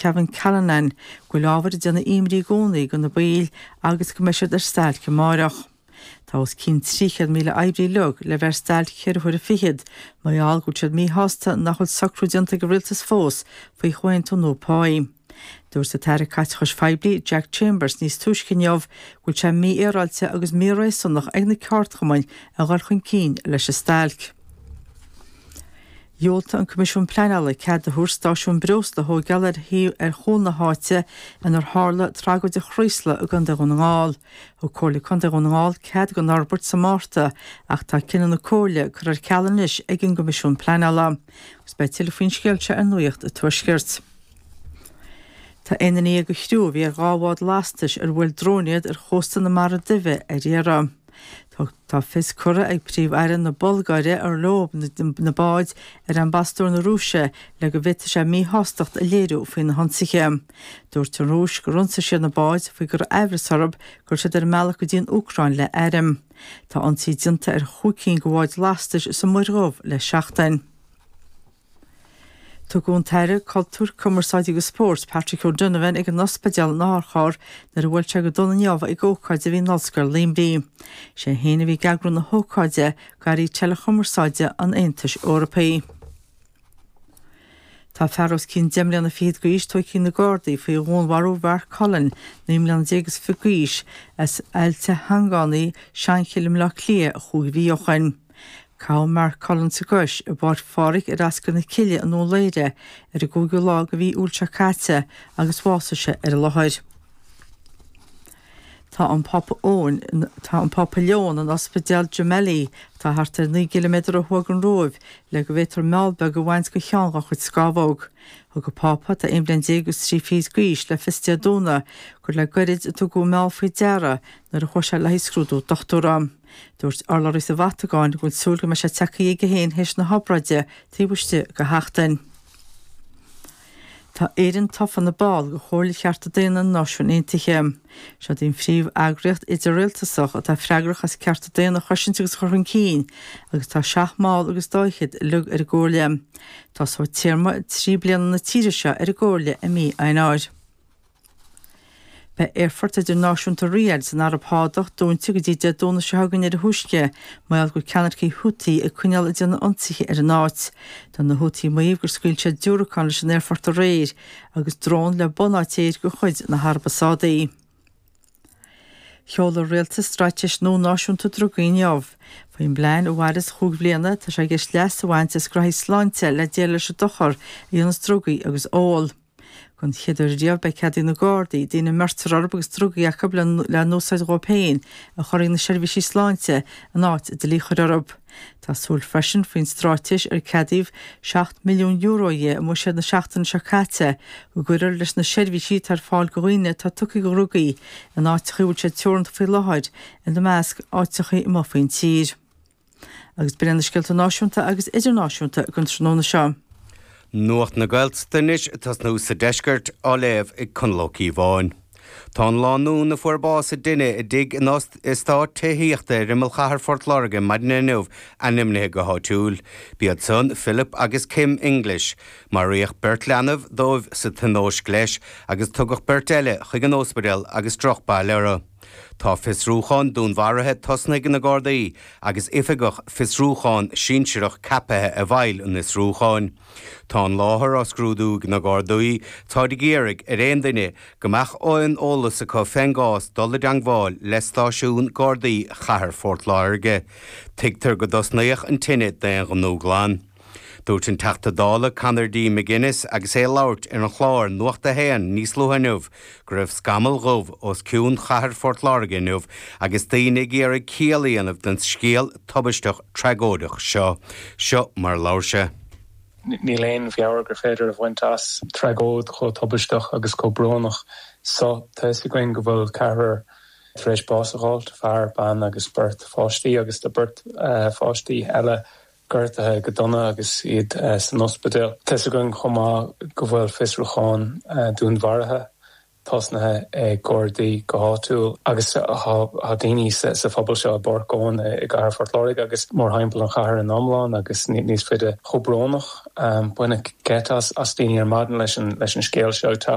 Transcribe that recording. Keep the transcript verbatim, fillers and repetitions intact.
Kevin Callanan go bhfuil ábhar ag déanamh imní i gcónaí do na baill agus go mbeidh siad ar stailc amárach. Tá os cionn trí chéad míle oibrí uilig le bheith ar stailc ceithre huaire fichead, mar gheall go bhfuil siad míshásta nach bhfuil socrú déanta ag an rialtas fós faoi chomhaontú nua páí. Dúirt an tAire Caiteachais Phoiblí Jack Chambers níos túisce inniu go bhfuil sé mífhéaráilte agus míréasúnach ag na ceardchumainn a dhul chun cinn leis an stailc. Dhiúltaigh an Coimisiún Pleanála cead a thabhairt stáisiún breosla a thógáil ar thaobh ar chúl na háite inar tharla tragóid an Chraoslaigh i gContae Dhún na nGall. Thug Comhairle Contae Dhún na nGall cead don fhorbairt sa Márta ach tá cinneadh na Comhairle curtha ar ceal anois ag an gCoimisiún Pleanála. Agus beidh tuilleadh faoin scéal seo ar Nuacht an Tuaiscirt. Tá aon duine dhéag de chriú a bhí ar dhá bhád lastais ar bhuail drón iad ar chósta na Mara Duibhe ar iarraidh. Tá fios curtha ag Príomh-Aire na Bulgáire ar leo na báid ar ambasadóir na Rúise le go bhféadfadh sé míshástacht a léiriú faoi na hionsaithe. Dúirt an Rúis gur ionsaigh siad na báid faoi go raibh aimhreas orthu go raibh siad ar a mbealach go dtí an Úcráin le airm. Tá ionsaí déanta ar chúig cinn de bháid lastais sa Mhuir Dhubh le seachtain. Tugadh an tAire Cultúir, Cumarsáide agus Spóirt Patrick O'Donovan ag an ospidéal in otharcharr nuair a bhuail sé go dona inniu ag ócáid a bhí in Ollscoil Luimnigh. Sé féin a bhí ag eagrú na hócáide d'airí teileachumarsáide an Aontais Eorpaigh. Tá fear os cionn deich mbliana fichead d'aois tógtha ag na Gardaí faoi dhúnmharú Mhark Cullen, naoi mbliana déag is fiche d'aois, as Aillte Shangánaí, Seanchill i mBleá Cliath, chúig mhí ó shin. Caitheadh Mark Cullen sa gcois i bPáirc Phádraig ar Ascaill na Cille i nDún Laoghaire ar an gcúigiú lá de mhí Iúil seo caite agus bhásaigh sé ar an láthair. Tá an Pápa Eoin, tá an Pápa Leon in Ospidéal Gemelli, atá thart ar naoi gciliméadar ó thuaidh den Róimh, le go bhféadfar meall beag a bhaint de cheann dá chuid scamhóg. Thug an Pápa, atá aon bhliain déag agus trí fichid d'aois, le fios Dé Domhnaigh gur le goirid a tugadh an meall faoi deara nuair a chuaigh sé le haghaidh scrúdú dochtúra. Dúirt urlabhraí sa Vatacáin go bhfuil súil go mbeidh sé tagtha chuige féin théis na hobráide taobh istigh de sheachtain. Tá Éirinn tofa ina ball de Chomhairle Chearta Daonna na Náisiún Aontaithe. Seod í an phríomh-eagraíocht idir-rialtasach atá freagrach as cearta daonna a chosaint agus a chur chun cinn, agus tá seacht mball agus dá fhichead uilig ar an gComhairle. Tosóidh téarma trí bliana na tíre seo ar an gComhairle i mí Eanáir. Beidh Aerfort Idirnáisiúnta Riyadh san Araib Shádach dúnta go dtí Dé Domhnaigh seo chugainn ar a thúisce, mar gheall go bhfuil ceannaircigh Houthi ag coinneáil ag déanamh ionsaithe ar an áit. Tá na Houthi ag maíomh gur scaoil siad diúracán leis an aerfort aréir agus drón le bunáit aeir de chuid na hAraibe Sádaí. Sheol an rialtas straitéis nua náisiúnta drugaí inniu. Faoin bplean a mhairfeas chúig bhliana, tá sé i gceist leas a bhaint as graithí sláinte le déileáil leis an dochar a dhéanas drugaí agus ól. Don chéad uair riamh beidh cead ag na Gardaí daoine a mbeirtear orthu agus drugaí acu le n-úsáid dhóibh féin a chur chuig na seirbhísí sláinte in áit dlí a chur orthu. Tá súil freisin faoin straitéis ar ceadaíodh seacht milliún euro di i mbuiséad na seachtaine seo caite go gcuirfear leis na seirbhísí atá ar fáil do dhaoine atá tugtha do dhrugaí in áiteacha a bhfuil siad teoranta faoi láthair, ina measc áiteacha amuigh faoin tír. Agus b'in iad na scéalta náisiúnta agus idirnáisiúnta don tráthnóna seo. Nuacht na Gaeltachta anois ag tosnú sa deisceart, á léamh ag Conall Ó Cíobháin. Tá an lánúin a fuair bás i dtine i dtigh in eastát tithíochta ar imeall chathair Phort Láirge maidin inniu ainmnithe go háitiúil. B'iad san Philip agus Kim English. Maraíodh beirt leanbh dóibh sa tionóisc leis agus tugadh beirt eile chuig an ospidéal agus drochbhail orthu. Tá fiosrúchán dúnmharaithe tosnaithe ag na Gardaí agus oifigeach fiosrúchán sinsearach ceaptha i bhfeighil an fhiosrúcháin. Tá an láthair á scrúdú ag na Gardaí, táid ag iarraidh ar aon duine go mbeadh aon eolas acu fén gcás dul i dteangmháil le stáisiún Gardaí Chathair Phort Láirge. Tuigtear go dtosnaíodh an tine d'aon ghnó glan. Dúirt an Teachta Dála Conor D. McGuinness agus é ag labhairt ar an chlár Nuacht a hAon níos luaithe inniu go raibh scamall dhubh os cionn chathair Phort Láirge inniu agus daoine ag iarraidh ciall a dhéanamh den scéal tubaisteach tragóideach seo. Seo mar a labhair sé. Níl aon mheabhair gur féidir a bhaint as tragóid chomh tubaisteach agus chomh brónach so. Tá fhios againn go bhfuil ceathrar tar éis bás a fháilt, fear, bean agus beirt pháistí, agus tá beirt pháistí eile gortaithe go dona agus iad san ospidéal. Tá fhios againn chomh maith go bhfuil fiosrúchán dúnmharaithe tosnaithe ag Gardaí go háitiúil agus tá daoine sa phobal seo i bPáirc Eoin i gcathair Phort Láirge agus mórthimpeall an chathair in iomlán agus níos faide chomh brónach baineadh geit as as daoine ar maidin leis an leis an scéal seo teacht